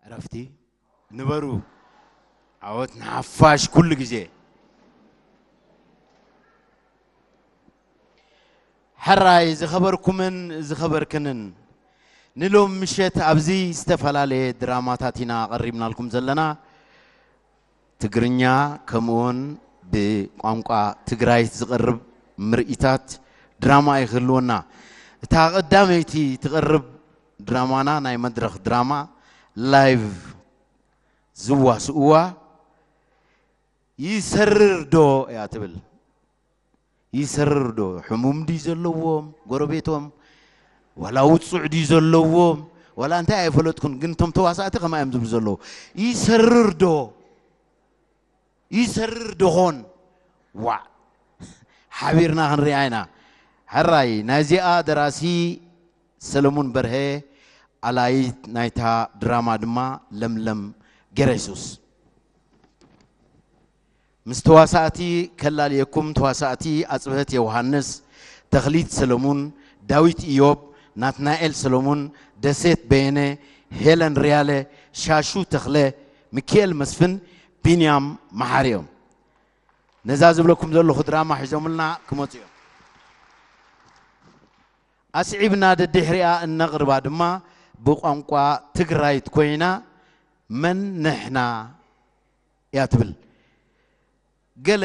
ዕረፍቲ ንበሩ። ዓወት ንሓፋሽ ኩሉ ግዜ። ሕራይ ዝኸበርኩምን ዝኸበርክንን፣ ንሎም ምሸት ኣብዚ ዝተፈላለየ ድራማታት ኢና ኣቐሪብናልኩም ዘለና። ትግርኛ ከምኡውን ብቋንቋ ትግራይ ዝቐርብ ምርኢታት ድራማ እዩ ክህልወና። እታ ቀዳመይቲ ትቐርብ ድራማና ናይ መድረኽ ድራማ ላይቭ ዝዋስእዋ ይሰርር ዶ እያ ትብል። ይሰርር ዶ? ሕሙም ድዩ ዘለዎም ጎረቤቶም? ዋላ ውጹዕ ድዩ ዘለዎም? ዋላ እንታይ ኣይፈለጥኩን፣ ግን እቶም ተዋሳእቲ ከማ እዮም ዝብሉ ዘለዉ። ይሰርር ዶ? ይሰርር ዶኾን? ዋዕ! ሓቢርና ክንሪኣ ኢና። ሕራይ ናይዚኣ ደራሲ ሰለሙን በርሀ፣ ኣላይት ናይታ ድራማ ድማ ለምለም ገረሱስ። ምስ ተዋሳእቲ ከላልየኩም፣ ተዋሳእቲ ኣጽብሀት ዮሃንስ፣ ተኽሊት ሰለሙን፣ ዳዊት ኢዮብ፣ ናትናኤል ሰለሙን፣ ደሴት በየነ፣ ሄለን ሪያለ፣ ሻሹ ተኽለ፣ ሚኪኤል መስፍን፣ ቢንያም መሓሪ እዮም። ነዛ ዝብለኩም ዘለኹ ድራማ ሒዞምልና ክመጹ እዮም። ኣስዒብና ደድሕሪኣ እነቕርባ ድማ ብቋንቋ ትግራይት ኮይና፣ መን ንሕና እያ ትብል። ገለ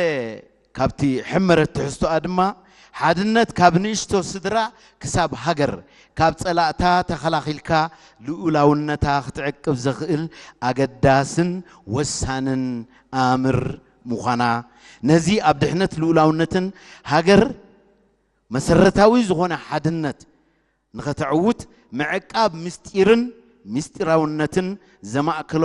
ካብቲ ሕመረት ትሕዝቶኣ ድማ፣ ሓድነት ካብ ንእሽቶ ስድራ ክሳብ ሃገር፣ ካብ ጸላእታ ተኸላኺልካ ልኡላውነታ ክትዕቅብ ዘኽእል ኣገዳስን ወሳንን ኣምር ምዃና፣ ነዚ ኣብ ድሕነት ልኡላውነትን ሃገር መሰረታዊ ዝኾነ ሓድነት ንኸተዕውት ምዕቃብ ምስጢርን ምስጢራውነትን ዘማእከሎ